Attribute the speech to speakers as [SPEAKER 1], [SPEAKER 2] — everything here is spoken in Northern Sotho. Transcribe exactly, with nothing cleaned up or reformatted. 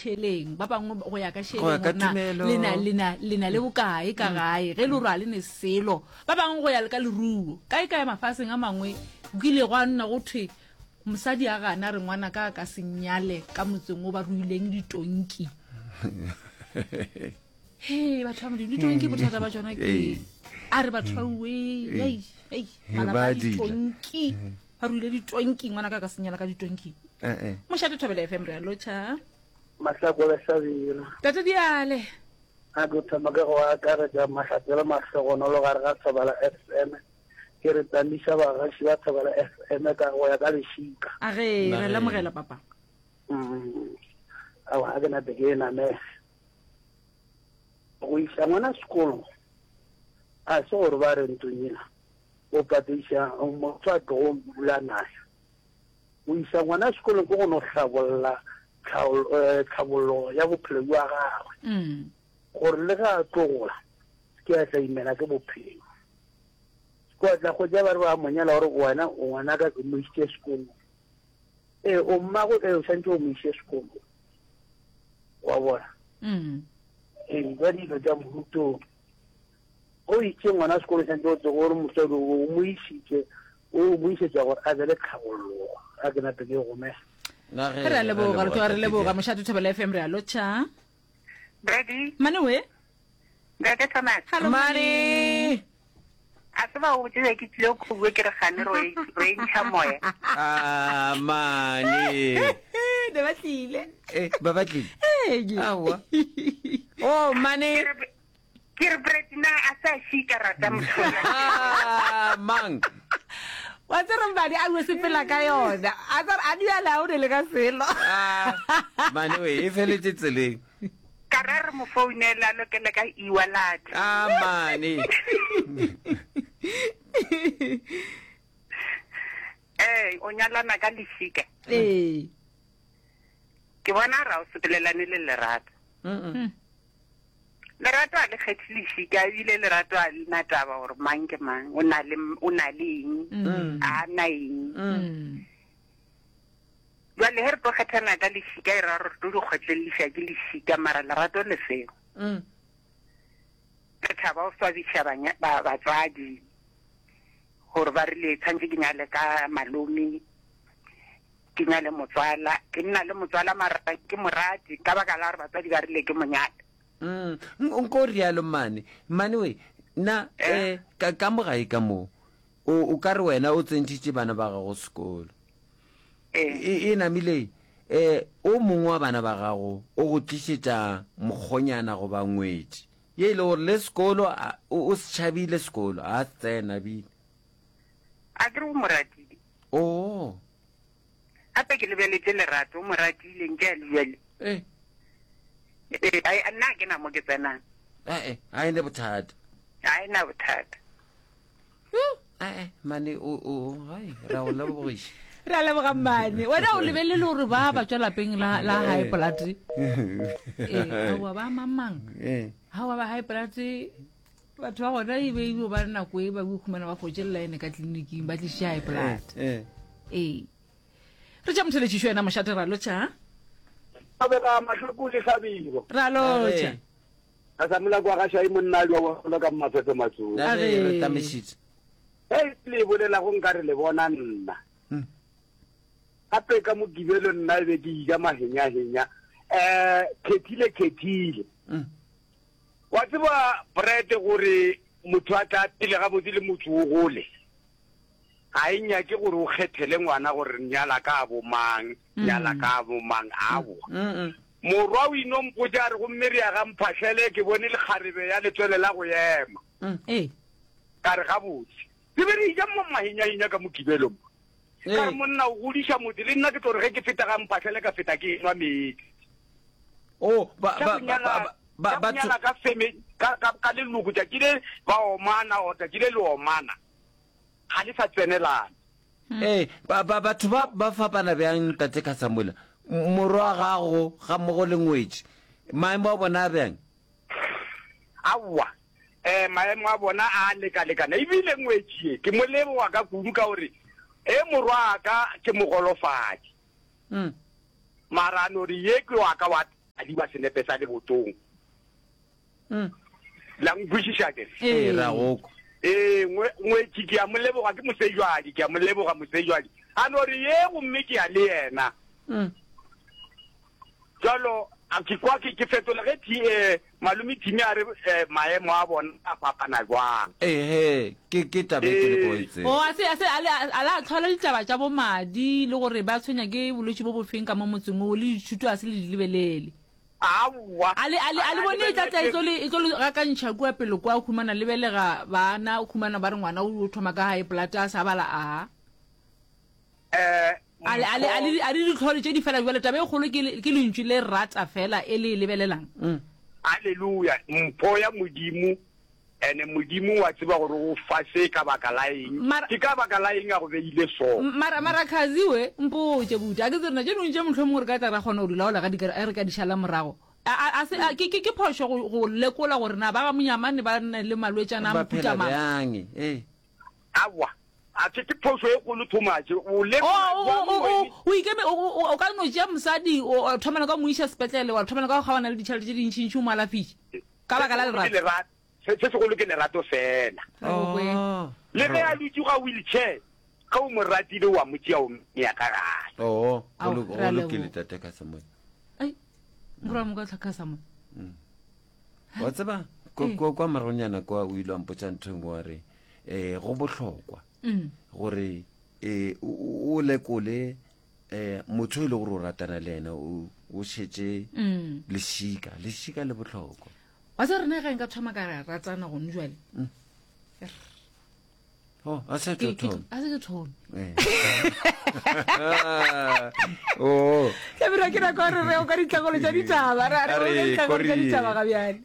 [SPEAKER 1] tšheleng ba bangwe go ya ka
[SPEAKER 2] Go ya
[SPEAKER 1] šeleng
[SPEAKER 2] ka
[SPEAKER 1] gore na
[SPEAKER 2] tumelo.
[SPEAKER 1] le na le na le na le bokae ka gae ge le gore a le ne selo ba bangwe go ya le ka leruo kae kae mafaseng a mangwe o kile gwa nna go thwe mosadi a gana re ngwana ka a ka se nyale ka motseng o ba ruileng ditonki he batho ba modimo ditonki bothata ba tsona ke
[SPEAKER 2] Ee.
[SPEAKER 1] a re batho ba ue ei ei malapa
[SPEAKER 2] Ba
[SPEAKER 1] a
[SPEAKER 2] dila.
[SPEAKER 1] ditonki ba ruile ditonki ngwana ka a ka se nyala ka ditonki
[SPEAKER 2] Eh, eh.
[SPEAKER 1] mošate thobela fm re a lotšha
[SPEAKER 3] Mahlako le Hlabirwa.
[SPEAKER 1] tate diale
[SPEAKER 3] A ke thoma ka go akaretša mahlatse le mahlogonolo gare ga Thobela F M. Ke re tamiša bagaši ba Thobela F M ka go ya ka lešika.
[SPEAKER 1] a ge
[SPEAKER 2] Na
[SPEAKER 1] re
[SPEAKER 2] ge.
[SPEAKER 1] lemogela papa
[SPEAKER 3] Mm. Aowa, ga ke nape ke e namele. Go iša ngwana sekolo a se gore ba re ntlong ena o patediša motho a tlogo dula naye. O iša ngwana sekolong ke go no hlabolla tlhaolo- eh, tlhabollo ya bophelo jwa gagwe.
[SPEAKER 1] Mm.
[SPEAKER 3] Gore le ge a tlo gola ke a tla imela ke bophelo. Ke a tla hwetša ba re ba mo nyala gore wena o ngwanaka ke mo isitše sekolong. Ee, o mmago ee o swanetše o mo iše sekolong. Wa bona?
[SPEAKER 1] Mm.
[SPEAKER 3] Ee, ka dilo tša mohuto o itše ngwana sekolo santse o tsebe gore motswadi o mo isitše o mo isetša gore a be le tlhabollogo a ke nape ke gomela.
[SPEAKER 2] Na ge,
[SPEAKER 1] re a leboga re tloga re
[SPEAKER 2] tate
[SPEAKER 1] leboga
[SPEAKER 2] Diale.
[SPEAKER 1] mošate thobela fm re a lotšha
[SPEAKER 4] Brady,
[SPEAKER 1] mane we
[SPEAKER 4] Ntate Thomas.
[SPEAKER 1] Hello,
[SPEAKER 2] Mane.
[SPEAKER 4] A se ba o botse ke tlile go bua ke re gane ro e ro e ntšha moya.
[SPEAKER 2] Ah, mane.
[SPEAKER 1] ne ba tlile
[SPEAKER 2] Eh, ba batlile.
[SPEAKER 1] Ee.
[SPEAKER 2] Aowa. Oh, mane.
[SPEAKER 4] Ke re ke re Brady na a sa šika rata motho.
[SPEAKER 2] Ah, mang.
[SPEAKER 1] wa tsere mbadi a bue sepela ka yona a tsere a diale a o ne le ka selo
[SPEAKER 2] Ah, mane we e feletse tseleng.
[SPEAKER 4] Ka ra re mo founela a lokele ka e-wallet.
[SPEAKER 2] Ah, mane.
[SPEAKER 4] Eh, o nyalana ka lešika.
[SPEAKER 1] ee
[SPEAKER 4] Ke bona ra o sepelelane le lerato.
[SPEAKER 2] Mm.
[SPEAKER 4] Lerato a le kgethe lešika ebile lerato a le na taba gore mang ke mang o na le o na le eng a na eng.
[SPEAKER 1] Mm.
[SPEAKER 4] Jwale he re tlo kgethana ka lešika e ra gore re tlo di kgotleleliša ke lešika mara lerato le seo.
[SPEAKER 2] Mm.
[SPEAKER 4] Re thaba o swabiša banya- ba- batswadi gore ba rile tshwanetse ke nyale ka malome ke nyale motswala ke nna le motswala mara ke morati ka baka la gore batswadi ba rile ke monyale.
[SPEAKER 2] Mm. Nko rialo mane. Mane we na eh ka ka mo gae ka mo. O o ka re wena o tsentšhitše bana ba gago sekolo.
[SPEAKER 4] Ee.
[SPEAKER 2] E e namile eh o mongwe wa bana ba gago o go tlišetša mokgonyana goba ngwetši. Ye e le gore le sekolo a- o o se tšhabile sekolo a se tsena bile.
[SPEAKER 4] A ke re o mo ratile.
[SPEAKER 2] Oh.
[SPEAKER 4] Gape ke lebeletše lerato o mo ratile nke a le bjale.
[SPEAKER 2] Eh.
[SPEAKER 4] Ee, ai, nna ha ke na mo ke tsenang.
[SPEAKER 2] Eh eh, ha ene bothata.
[SPEAKER 4] Ha e na bothata.
[SPEAKER 2] Eh eh, mane o o hai ra o lebogiša.
[SPEAKER 1] re a leboga mmane wena o lebelele gore ba ba tswa lapeng la la high blood ee aowa ba mamang
[SPEAKER 2] Eh.
[SPEAKER 1] aowa ba high blood batho ba gona e be e ba nako e ba khumana ba fotše line ka tleliniking ba tliše high blood
[SPEAKER 2] Eh.
[SPEAKER 1] ee re tša motheletšišo yena mošate ra lotšha
[SPEAKER 3] Thobela Mahloko le Hlabirwa.
[SPEAKER 1] ra lotšha
[SPEAKER 3] Ka sa mola kwa ga Shai monna a wa gola ka mafefe matsong.
[SPEAKER 2] Na ge re tamišitše.
[SPEAKER 3] Hei le bolelago nkare le bona nna.
[SPEAKER 2] Mm.
[SPEAKER 3] Gape ka Mokibelo nna e be ke ija mahenyahenya. Eh khethile khethile.
[SPEAKER 2] Mm.
[SPEAKER 3] Wa tseba bread gore motho a tla pele gabotse le motho o gole. Ga e nyake gore o kgethele ngwana gore nyala ka bo mang, nyala ka bo mang aowa.
[SPEAKER 2] Mm.
[SPEAKER 3] Morwa o ino mpotša a re gomme re ya ga mphahlele ke bone lekgarebe ya letswele la go ema.
[SPEAKER 1] ee
[SPEAKER 3] Ka re gabotse. Re be re ija mo mahenyahenya ka Mokibelo mo. Ka re monna o godiša motse le nna ke tlo re ge ke feta ga mphahlele ka feta ke enwa meetse.
[SPEAKER 2] Oh, ba
[SPEAKER 3] Tša
[SPEAKER 2] ba
[SPEAKER 3] go
[SPEAKER 2] ba
[SPEAKER 3] nyala
[SPEAKER 2] ba
[SPEAKER 3] tša go
[SPEAKER 2] ba
[SPEAKER 3] nyala ka feme ka ka ka leloko tšatši le ba omana or tšatši le le omana. Ga le sa tsenelana.
[SPEAKER 2] Eh, ba ba batho ba ba fapana bjang tate Kasamula. Morwa wa gago ga mmogo le ngwetši. Maemo a bona a bjang?
[SPEAKER 3] Aowa. Eh maemo a bona a lekalekana ebile ngwetši ye ke mo leboga ka kudu ka gore e morwa wa ka ke mogolofadi.
[SPEAKER 2] Mm.
[SPEAKER 3] Mara a no re ye ke wa ka wa
[SPEAKER 5] adiwa senepe sa lebotong. La nkwešiša ke?
[SPEAKER 2] Ee, ra go kwa.
[SPEAKER 5] Ee, ngwe, ngwetši ke a mo leboga, ke mosejwadi, ke a mo leboga mosejwadi. A no re, Ye, gomme ke ya le yena. Bjalo, a ke kwa ke, ke fetola ge Thi, eh, Malome Thimi a re, eh, maemo a bona a fapana bjang.
[SPEAKER 2] Ee, he, ke, ke taba e ke le ko e tseba.
[SPEAKER 1] Oh, a se, a se, a le, a la hlola ditaba tša bo madi le gore ba tshwenya ke bolwetši bo bofeng ka mo motseng wo, le dithuto a se le di lebelele.
[SPEAKER 5] Aowa.
[SPEAKER 1] A le, a le, a le bone e tla tla e tlo le, e tlo le gakantšha kua pele kwa, o humana le belega bana, o humana ba re ngwana o thoma ka high blood a sa bala a.
[SPEAKER 5] Eh,
[SPEAKER 1] A le, a le, a le, a le ditlhole tše di fela bjale, taba e kgolo ke, ke lentšu le rata fela e le e lebelelang.
[SPEAKER 5] Haleluya, mpho ya Modimo, ene Modimo wa tseba gore o fa se ka baka la eng,
[SPEAKER 1] Mara,
[SPEAKER 5] ke ka baka la eng a go beile so.
[SPEAKER 1] mara, mara Khazi we, mpotše buti, a ke tsebe rena tše dingwe tše mohlomongwe re ka tla ra kgona go di laola ga di ka, ge re ka di šala morago. A, a, a se, a, ke, ke, ke phošo go, go lekola gore na ba ga Monyamane ba na le malwetšana a
[SPEAKER 2] Ba
[SPEAKER 1] mohuta
[SPEAKER 2] phela
[SPEAKER 1] mang.
[SPEAKER 2] bjang? Ee.
[SPEAKER 5] Aowa, a ke, ke phošo e kgolo too much. O
[SPEAKER 1] O,
[SPEAKER 5] lekola
[SPEAKER 1] o,
[SPEAKER 5] bjang
[SPEAKER 1] o, o,
[SPEAKER 5] wene?
[SPEAKER 1] o ikeme, o, o, o ka no tšea mosadi, o, o thomela ka go mo iša sepetlele, wa thomela ka go kgaogana le ditšhelete tše dintšintši o mo alafiše, ka
[SPEAKER 5] Se
[SPEAKER 1] baka la
[SPEAKER 5] segolo ke
[SPEAKER 1] lerato.
[SPEAKER 5] lerato, se, se segolo ke lerato fela.
[SPEAKER 1] Re go kwe.
[SPEAKER 2] Oh.
[SPEAKER 5] Le ge a dutše ga wheelchair, ge o mo ratile o a mo tšea o mmea ka gae.
[SPEAKER 2] Oo, go
[SPEAKER 1] Ao,
[SPEAKER 2] lo-
[SPEAKER 1] re a
[SPEAKER 2] go lokile
[SPEAKER 1] leboga.
[SPEAKER 2] tate Kasamoya.
[SPEAKER 1] Ai, morwa mo ka tlhaka sa mo.
[SPEAKER 2] Wa tseba, kwa,
[SPEAKER 1] Ee.
[SPEAKER 2] kwa, kwa moragonyana kwa o ile wa mpotša ntho e nngwe wa re, eh, go bohlokwa
[SPEAKER 1] Mm.
[SPEAKER 2] gore, eh, o, o, o lekole, eh, motho e le gore o ratana le yena, o, o šetše
[SPEAKER 1] Mm.
[SPEAKER 2] lešika, lešika le bohlokwa.
[SPEAKER 1] Wa tseba rena ge nka thoma ka ra ratana gone jwale.
[SPEAKER 2] Oh, a se
[SPEAKER 1] Ke-
[SPEAKER 2] tlo
[SPEAKER 1] ke
[SPEAKER 2] thoma.
[SPEAKER 1] tlo- a se ke thome.
[SPEAKER 2] Eh. Oh.
[SPEAKER 1] Hlabirwa ke nako ya re re o ka ditlhakolo tša ditaba. Re a re
[SPEAKER 2] A
[SPEAKER 1] o ka
[SPEAKER 2] re,
[SPEAKER 1] ditlhakolo tša
[SPEAKER 2] Kori.
[SPEAKER 1] ditaba ga bjale.